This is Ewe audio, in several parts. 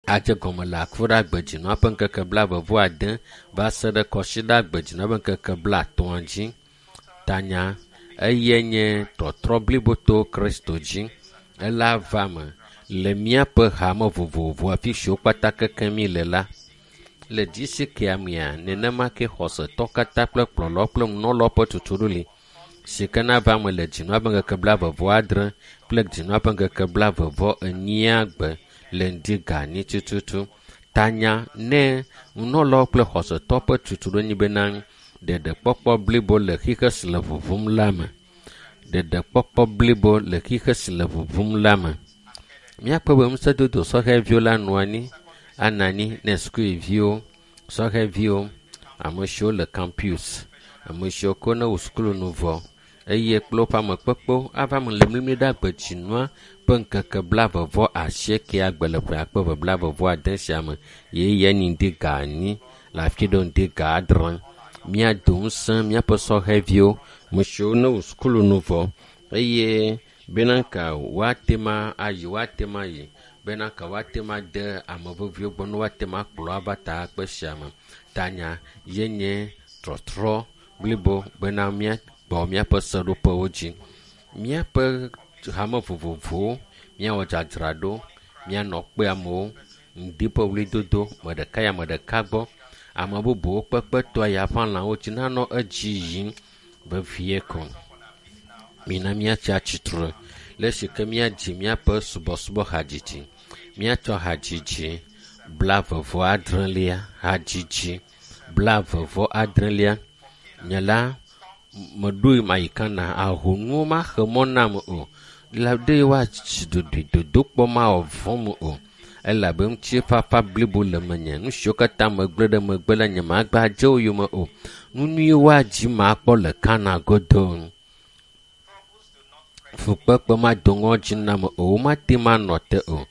Adze gɔme le Akuɖagbe dzinua ƒe ŋkeke blaeve-vɔ-ade va se ɖe Kɔsiɖagbe dzinua ƒe ŋkeke blaetɔ̃a dzi. Tanya eye nye tɔtrɔ blibo to Kristo dzi. Ela va me le míaƒe hame vovovo afi siwo kpata kekem mi le la. Le dzisi kea mea, nenema ke xɔsetɔ katã kple kplɔlɔ kple nunɔlawo ƒe tutuɖo li si ke nava me le dzinua ƒe ŋkeke blaeve-vɔ-adre kple dzinua ƒe ŋkeke blaeve-vɔ-enyia gbe le ŋdi ga anyi tututu. Tanya ne nunɔlawo kple xɔsetɔ ƒe tutuɖo nyi bena ɖeɖekpɔkpɔ blibo le xixe si le ʋuʋum la me. Ɖeɖekpɔkpɔ blibo le xixe si le ʋuʋum la me. Míakpɔ be ŋusẽdodo sɔhɛviwo la nɔ anyi anɔ anyi ne sukuviwo, sɔhɛviwo, ame siwo le campus, ame siwo ko ne wo sukulu nu vɔ eye kple woƒe amekpekpewo ava me le mlimli ɖe agbedzinua ƒe ŋkeke blaeve-vɔ-asiekɛa gbe le ƒe akpe eve blaeve-vɔ-ade sia me ye ye nyi ŋdi ga anyi le afi ɖewo ŋdi ga adre. Míado ŋusẽ míaƒe sɔhɛviwo, ame siwo ne wo sukulu nu vɔ eye bena ka woate ma ayi woate ma ayi bena ka woate ma de ame veviwo gbɔ ne woate ma kplɔ ava ta akpe sia me. Tanya ye nye trɔtrɔ blibo bena míagbɔ míaƒe seɖoƒewo dzi. Míaƒe hame vovovowo míawɔ dzadzraɖo, míanɔ kpe amewo, ŋdi ƒe ɣlidodo, ame ɖeka yi ame ɖeka gbɔ. Ame bubuwo kpekpe toa ya ƒe alãwo dzi nanɔ edzi yim vevie ko. Mina míatsi atsitre le esi ke míadzi míaƒe subɔsubɔ hadzidzi. Míatsɔ hadzidzi blaeve-vɔ-adrelia, hadzidzi blaeve-vɔ-adrelia. Nye la meɖoe mayi kana ahonuwo maxe mɔ nam o. La ɖe woatsi ɖoɖoe dodokpɔ mawɔ vɔ̃m o. Elabe ŋutifafa blibo le menye. Nu siwo katã megblẽ ɖe megbe la nye magba dze wo yome o. Nu nyuiwo woadzi makpɔ le Kana godo. Fukpekpe mado ŋɔdzi nam o. Womate ŋu anɔ te o.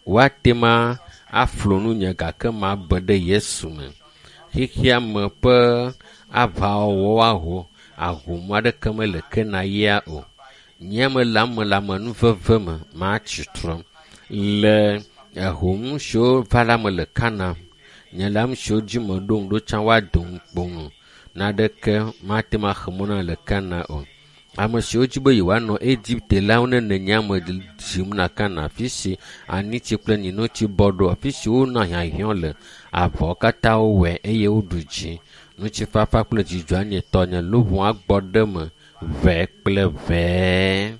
Woate ŋu aflo nunye gake mabe ɖe Yesu me. Xexea me ƒe aʋawɔwɔ aho ahom aɖeke mele Kana ya o. Nye me le ame le amenuveve me matsi trɔ le ehom siwo va la me le Kana. Nye le ame siwo dzi meɖo ŋu ɖo tsã woado ŋukpo nu. Naneke mate ŋu axe mɔ na le Kana o. Ame siwo dzi be yewoanɔ Egipte la wo ne nenye ame dzim na Kana afi si anitsi kple nyinotsi bɔ ɖo afi si wonɔ hiahiã le avɔ katã wowɔe eye woɖu dzi. Ŋutifafa kple dzidzɔ anye tɔnye luʋɔ agbɔ ɖe me ʋɛ kple ʋɛ.